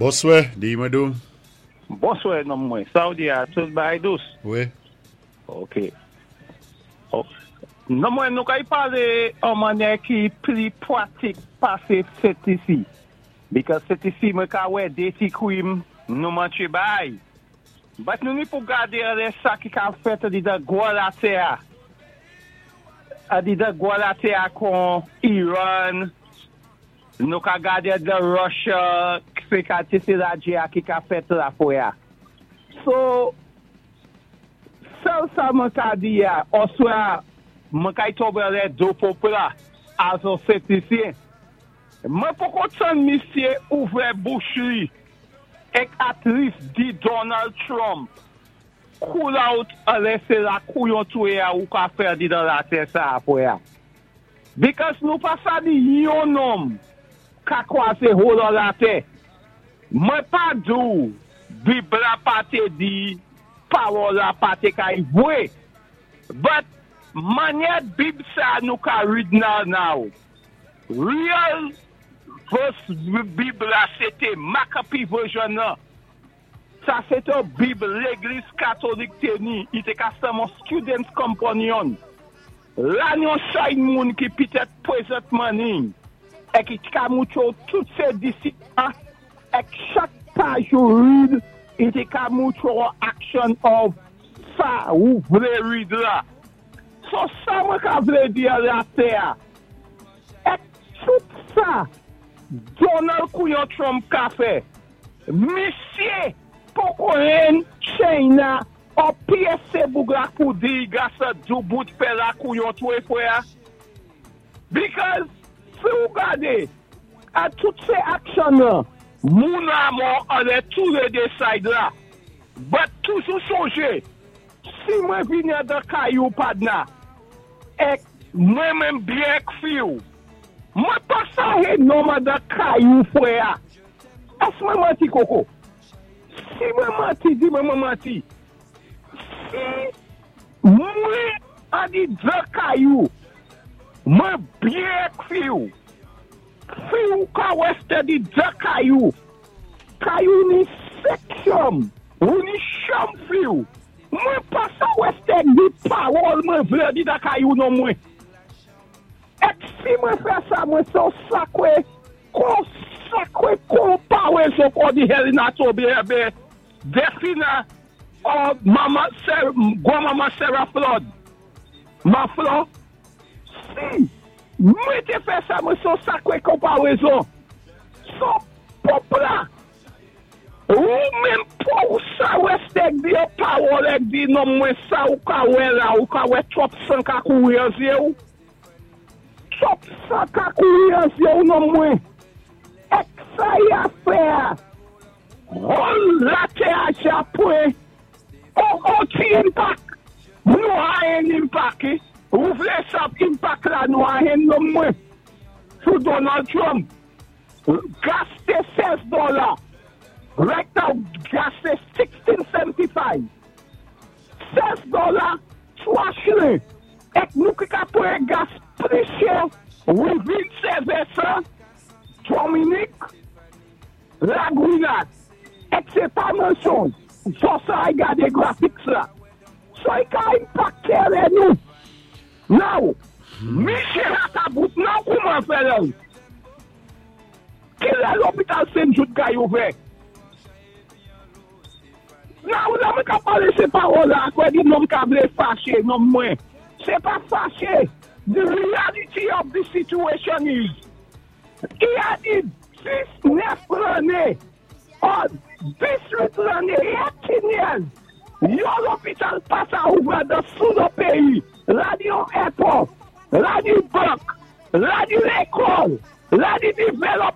Bonswè, di mwen dou. Bonswè nonm mwen, sa ou di a tout bagay dous? Wi. Ok. Nonm mwen nou kay pale an mannyè ki pli pratik pase Sent Lisi. Because Sent Lisi mwen ka wè de ti krim nou mantye bay. But nou ni pou gade anlè sa ki ka fèt andidan gwo latè a. Andidan gwo latè a kon Iran, nou ka gade andidan Russia, se ka ti se lagè a ki ka fèt la fwe a. So, sèl sa mwen ka di a, oswa mwen kay tonbe anlè do pòp la as on Sent Lisyen. Mwen poko tann misye ouvè bouch li ek at least di Donald Trump cool out anlè se la kouyon touye a ou ka fè andidan latè sa apre a. Because nou pa sa di yon nonm ka kwaze whole latè. Mwen pa di ou Bib la pa te di pawòl la pa te kay vwe. But manyè Bib sa nou ka read now. Real verse Bib la se te McAfee version nan. Sa se te Bib Legliz Katolik te ni. I te ka sèlman Students Companion. La yon chay moun ki pitèt prezentman ni. E ki ka moucho tout se disip ek chak paj ou read, i te ka moucho action of sa ou vle read la. So sa mwen ka vle di a la te a. Ek tout sa Donald Kouyon Trump ka fè, misye poko ren China ou pyese boug la pou di gasa dou bout fè la kouyon touye fwe a. Because si ou gade a tout se aksyon nan, moun amò anlè tou le de side la. But toujou sonje, si mwen vini dan kay ou padna, ek mwen men byen k fi ou, mwen pa sa he nonman dan kay ou fwe a. Es mwen manti koko? Si mwen manti, di mwen mwen manti. Si mwen a di dan kay ou, mwen byen k fi ou, fi ou ka weste di dan kay ou, kay ou ni sek chanm, ou ni chanm fi ou, mwen pa sa weste di pawòl mwen vle di dan kay ou non mwen. Ek si mwen fè sa, mwen se ou sakwe, kon sakwe kon pa wezo kon di Helena Tobe ebe, Defina, ou mama, ser, gwa mama Sarah Flood. Ma Flo, si mwen te fè sa, mwen se ou sakwe kon pa wezo. So, pòp la, ou menm pou sa westek di yo pawòl ek di non mwen sa ou ka wè la, ou ka wè twòp san ka kouri an zye ou. Twòp san ka kouri an zye ou non mwen. Ek sa ya fè a, whole latè a japwe, ou ti impact, nou a en impact, eh? Ou vle sa impact la nou a en non mwen. Sou Donald Trump, gas te 16 dola. Right now, gas te 16.75. 16 dola, 3 chile. Ek nou ki ka pran gas pli chè, within 7 Dominique, Lagouinat. Ek se pa mensonj. So sa ay gade graphics la. So y ka impacte le nou. Now, Michel Akabout nan kouman fè lè? Ki lè lopital Saint Jude kay ouvè? Now, la mwen ka pale se pawòl la, kwe di nonm ka vle fache, nonm mwen. Se pa fache. The reality of the situation is, i a di 19 lane, or 18 lane, 18 years, yon lopital pa sa ouvè dan sou nou peyi, la di yon airport, la di bank, la di lekòl, la di development.